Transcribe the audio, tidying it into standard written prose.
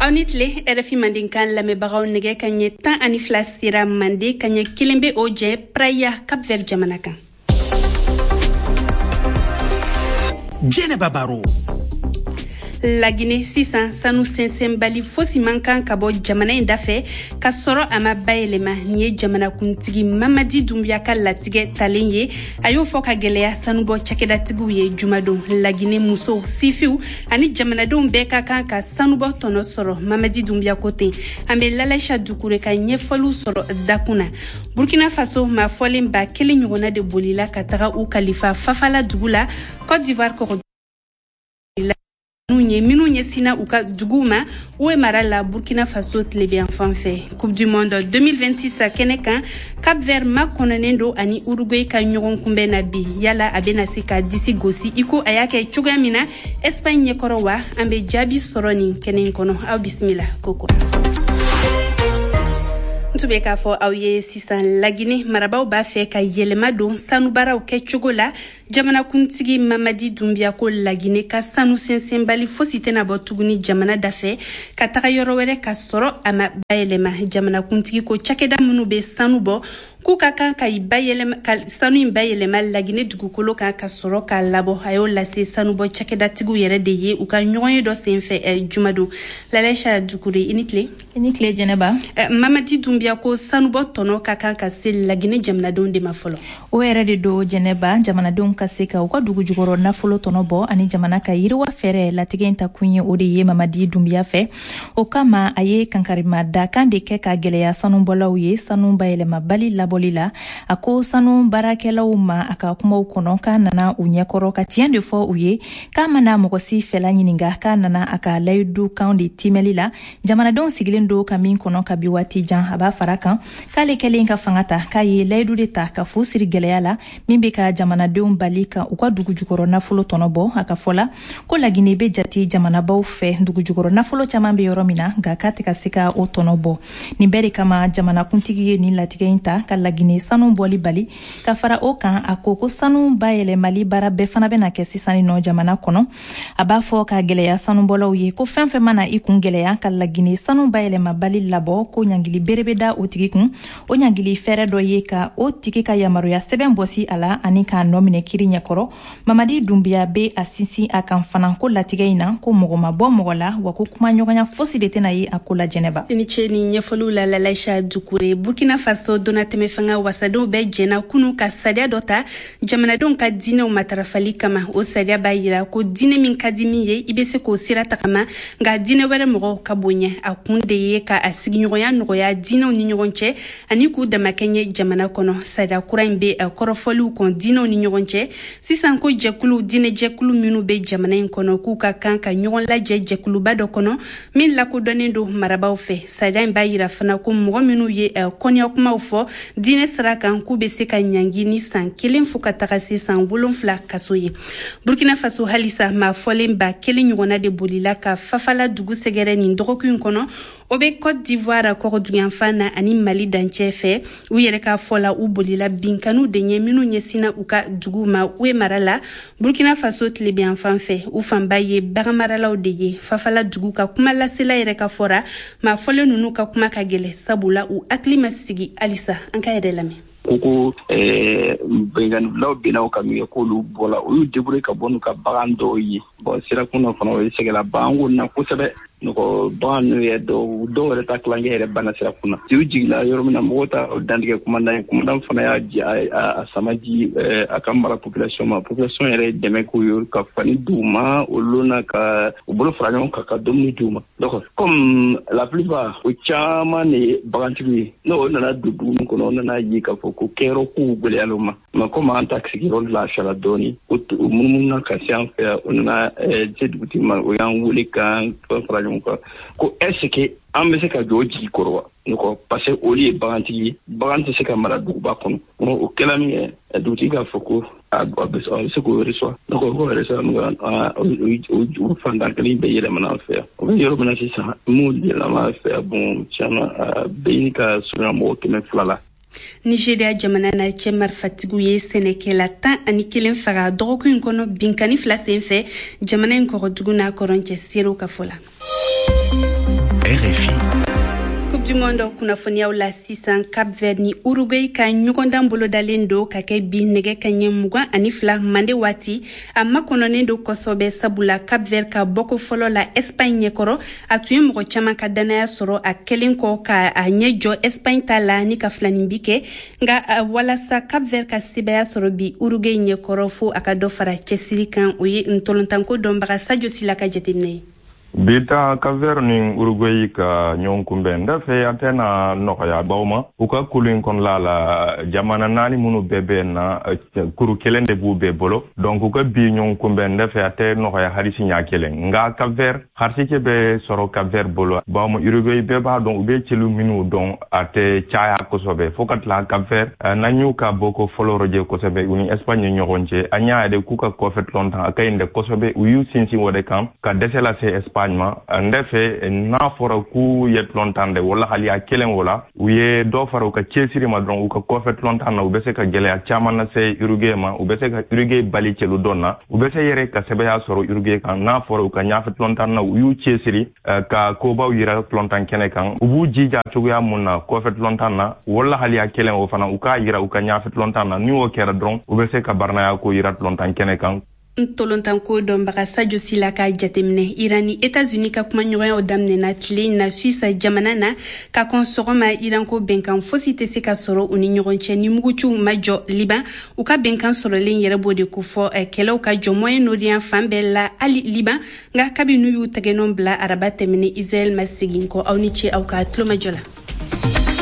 Aw ni tile, RFI Mandenkan lamɛnbagaw. Nɛgɛ ka ɲɛ 12 sera Mande, ka ɲɛ 1 bɛ o jɛ Praia, Cap Vert jamana kan. Jɛnɛba Baro. Lagine, sisan sanu sɛnsɛnbali fosi man kan ka bɔ jamana in dafɛ ka sɔrɔ a ma bayɛlɛma. Nin ye jamanakuntigi Mamadi Dunbiya ka latigɛ talen ye. A y'o fɔ ka gwɛlɛya sanubɔ cakɛdatigiw ye jumadon. Lagine musow, sifiw ani jamanadenw bɛɛ ka kan ka sanubɔ tɔnɔ sɔrɔ, Mamadi Dunbiya ko ten. An bɛ Lalaisa Dukure ka ɲɛfɔliw sɔrɔ dakun na. Burkina Faso, maa fɔlen 1000 ɲɔgɔnna de bolila ka taga u kalifa Fafala dugu la, Côte d'Ivoire kɔgɔ ye, minnu ɲɛsinna u ka duguw ma Houet mara la, Burkina Faso tilebiyanfan fɛ. Coupe du monde 2026 kɛnɛ kan, Cap Vert makɔnɔnen don ani Uruguay ka ɲɔgɔn kunbɛn na bi. Yala a bɛna se ka disi gosi i ko a y'a kɛ cogoya min na Espagne ɲɛkɔrɔ wa? An bɛ jaabi sɔrɔ nin kɛnɛ in kɔnɔ. Aw bisimila koko. N tun bɛ k'a fɔ aw ye sisan, Lagine marabaw b'a fɛ ka yɛlɛma don sanubaaraw kɛcogo la. Jamanakuntigi Mamadi Dunbiya ko Lagine ka sanu sɛnsɛnbali fosi tɛna bɔ tuguni jamana dafɛ ka taga yɔrɔ wɛrɛ ka sɔrɔ a ma bayɛlɛma. Jamanakuntigi ko cakɛda minnu bɛ sanu bɔ, k'u ka kan ka ka sanu in bayɛlɛma Lagine dugukolo kan ka sɔrɔ k'a labɔ. A y'o lase sanubɔ cakɛdatigiw yɛrɛ de ye u ka ɲɔgɔn ye dɔ senfɛ jumadon. Lalaisa Dukure, i ni tile. I ni tile, Jɛnɛba. Mamadi Dunbiya ko sanubɔ tɔnɔ ka kan ka se Lagine jamanadenw de ma fɔlɔ. O yɛrɛ de don, Jɛnɛba. Jamanadenw ka se ka u ka dugu jukɔrɔ nafolo tɔnɔ bɔ ani jamana ka yiriwa fɛɛrɛ latigɛ in ta kun ye o de ye Mamadi Dunbiya fɛ. O kama, a ye kankarima dakan de kɛ ka gwɛlɛya sanubɔlaw ye sanu bayɛlɛmabali labɔli la. A ko sanu baarakɛlaw ma a ka kumaw kɔnɔ k'a nana u ɲɛkɔrɔ ka tiɲɛ de fɔ u ye, k'a mana mɔgɔ si fɛla ɲininga, k'a nana a ka layidu kan de timɛli la jamanadenw sigilen don ka min kɔnɔ kabi waati jan. A b'a fara kan k'ale kɛlen ka fanga ta, k'a ye layidu de ta ka fu siri gwɛlɛya la min be ka jamanadenw bali ka u ka dugu jukɔrɔ nafolo tɔnɔ bɔ. A ka fɔ la ko Lagine be jate jamanabaw fɛ dugu jukɔrɔ nafolo caman be yɔrɔ min na, nka k'a tɛ ka se ka o tɔnɔ bɔ. Nin bɛɛ de kama jamanakuntigi ye nin latigɛ in ta ka Lagine sanu bɔli bali. Ka fara o kan, a ko ko sanu bayɛlɛmali baara bɛɛ fana bɛna kɛ sisan nɔ jamana kɔnɔ. A b'a fɔ ka gwɛlɛya sanubɔlaw ye ko fɛn fɛn mana i kun gwɛlɛya ka Lagine sanu bayɛlɛmabali labɔ, ko ɲangili bere bɛ da o tigi kun. O ɲangili fɛɛrɛ dɔ ye ka o tigi ka yamaruya sɛbɛn bɔsi a la ani k'a nɔ minɛ kiri ɲɛkɔrɔ. Mamadi Dunbiya be a sinsin a kan fana ko latigɛ in na, ko mɔgɔ ma bɔ mɔgɔ la, wa ko kumaɲɔgɔnya fosi de tɛna ye a ko la, Jɛnɛba. I ni ce ni ɲɛfɔliw la, Lalaisa Dukure. Burkina Faso donnatɛmɛ fanga wasadenw bɛɛ jɛna kunu ka sariya dɔ ta jamanadenw ka diinɛw matarafali kama. O sariya b'a yira ko diinɛ min ka di min ye, i bɛ se k'o sira tagama, nka diinɛ wɛrɛ mɔgɔw ka bonya. A kun de ye ka a sigiɲɔgɔnya nɔgɔya diinɛw ni ɲɔgɔn cɛ ani k'u damakɛɲɛ jamana kɔnɔ. Sariya kura in bɛ kɔrɔfɔliw kɔn diinɛw ni ɲɔgɔn cɛ sisan, ko jɛkulu, diinɛjɛkulu minnu bɛ jamana in kɔnɔ, k'u ka kan ka ɲɔgɔn lajɛ jɛkuluba dɔ kɔnɔ min lakodɔnnen don marabaw fɛ. Sariya in b'a yira fana ko mɔgɔ minnu ye kɔniya kumaw fɔ diinɛ sira kan, k'u bɛ se ka ɲangi ni san 1 fo ka taga se san 7 kaso ye. Burkina Faso halisa, maa fɔlen 1000 ɲɔgɔnna de bolila ka Fafala dugu sɛgɛrɛ nin dɔgɔkun in kɔnɔ. O bɛ Côte d'Ivoire kɔgɔduguyanfan na ani Mali dancɛ fɛ. U yɛrɛ ka fɔ la, u bolila binkaniw de ɲɛ minnu ɲɛsinna u ka dugu ma Houet mara la, Burkina Faso tilebiyanfan fɛ. U fanba ye baganmaralaw de ye. Fafala dugu ka kuma lasela yɛrɛ ka fɔra, maa fɔlen ninnu ka kuma ka gɛlɛ, sabula u hakili ma sigi halisa. An ka yɛrɛ lamɛn. Ko binkannilaw binna u kan min kɛ, k'olu bɔla, u y'u débrouiller ka bɔ n'u ka bagan dɔw ye. Bon, sirakun na fana, o ye sɛgɛla baganko na kosɛbɛ. Nɔgɔ bagan ninnu yɛrɛ, dɔw yɛrɛ ta tilancɛ yɛrɛ banna sirakun na. U jigila yɔrɔ min na, mɔgɔw ta dantigɛ commandant ye. Commandant fana y'a a sama di a ka mara population ma. Population yɛrɛ ye dɛmɛ k'u ye ka fani d'u ma o lon na, ka u bolo fara ɲɔgɔn kan ka dumuni d'u ma. Donc comme la plupart, o caman de ye bagantigiw ye, n'o nana don dugu min kɔnɔ, o nana ye k'a fɔ ko kɛyɔrɔ kow gwɛlɛyala u ma. Mais comme an ta sigiyɔrɔ lafiyala dɔɔni, o munumunu ka se an fɛ yan. O nana se dugutigi ma, o y'an wele k'an fɛn fara ɲɔgɔn kan ko est ce que an bɛ se ka jɔ o jigi kɔrɔ wa? Ne ko parce que olu ye bagantigi ye, bagan tɛ se ka mara duguba kɔnɔ. O kɛla min kɛ, dugutigi k'a fɔ ko a bɛ se k'o reçoit. Donc o reçoit, o fantan kelen bɛɛ yɛlɛmana an fɛ yan. O bɛ yɔrɔ min na sisan, mun yɛlɛma an fɛ yan, bon, tiɲɛna, a bɛ ɲini ka surunya mɔgɔ 200 la. Nigeria jamana na, cɛ marifatigiw ye sɛnɛkɛla 11 faga dɔgɔkun in kɔnɔ binkani fila sen fɛ jamana in kɔgɔdugu n'a kɔrɔn cɛ, seerew ka fɔ la. RFI. Coupe du Monde kunnafoniyaw la sisan, Cap Vert ni Uruguay ka ɲɔgɔndan bolodalen don ka kɛ bi nɛgɛ kaɲɛ 22 mande waati. A makɔnɔnen don kosɔbɛ, sabula Cap Vert ka bɔko fɔlɔ la Espagne ɲɛkɔrɔ, a tun ye mɔgɔ caman ka dannaya sɔrɔ a kɛlen kɔ ka a ɲɛ jɔ Espagne ta la ni ka filaninbi kɛ. Nka walasa Cap Vert ka sebaya sɔrɔ bi Uruguay ɲɛkɔrɔ, fo a ka dɔ fara cɛsiri kan. O ye ntolontanko dɔnbaga Sadio Sila ka jateminɛ ye. Bi ta, Cap-Vert ni Uruguay ka ɲɔgɔn kunbɛn, n fɛ a tɛna nɔgɔya baw ma. U ka kulu in kɔnɔla la, jamana naani minnu bɛɛ bɛ na, kuru kelen de b'u bɛɛ bolo. Donc u ka bi ɲɔgɔn kunbɛn, n fɛ a tɛ nɔgɔya hali siɲɛ kelen. Nka Cap-Vert, harisike bɛ sɔrɔ Cap-Vert bolo, bawo Uruguay, bɛɛ b'a dɔn u bɛ celu minnu dɔn, a tɛ caya kosɛbɛ. Fo ka tila Cap-Vert, n'an y'u ka bɔko fɔlɔ rɔjɛ kosɛbɛ, u ni Espagne ni ɲɔgɔn cɛ, an y'a ye k'u ka kɔfɛ tulon a ka ɲi dɛ kosɛbɛ. U y'u sinsin o de kan ka dɛsɛ lase Espagne ma. N fɛ n'a fɔra k'u ye tulon tan dɛ, wala hali a kelen o la, u ye dɔ fara u ka cɛsiri ma dɔrɔn u ka kɔfɛ tulon tan na, u bɛ se ka gɛlɛya caman lase Uruguay ma. U bɛ se ka Uruguay bali celu dɔn na, u bɛ se yɛrɛ ka sɛbɛya sɔrɔ Uruguay kan. N'a fɔra u ka ɲafɛ tulon tan na, u y'u cɛsiri ka kobaw yira tulon tan kɛnɛ kan, u b'u jija cogoya mun na kɔfɛ tulon tan na, wala hali a kelen o fana, u k'a yira u ka ɲafɛ tulon tan na. Ni o kɛra dɔrɔn, u bɛ se ka baranaya ko yira tulon tan kɛnɛ kan. Ntolontanko dɔnbaga Sadio Sila ka jateminɛ. Iran ni Etats-Unis ka kumaɲɔgɔnyaw daminɛna tile in na Suisse jamana na. Ka kɔn sɔgɔma, Iran ko bɛnkan fosi tɛ se ka sɔrɔ u ni ɲɔgɔn cɛ ni muguciw ma jɔ Liban. U ka bɛnkan sɔrɔlen yɛrɛ b'o de kofɔ, kɛlɛw ka jɔ Moyen Orient fan bɛɛ la, hali Liban. Nka kabi n'u y'u tɛgɛnɔ bila araba tɛmɛnen, Israɛl ma segin kɔ. Aw ni ce aw ka tulomajɔ la.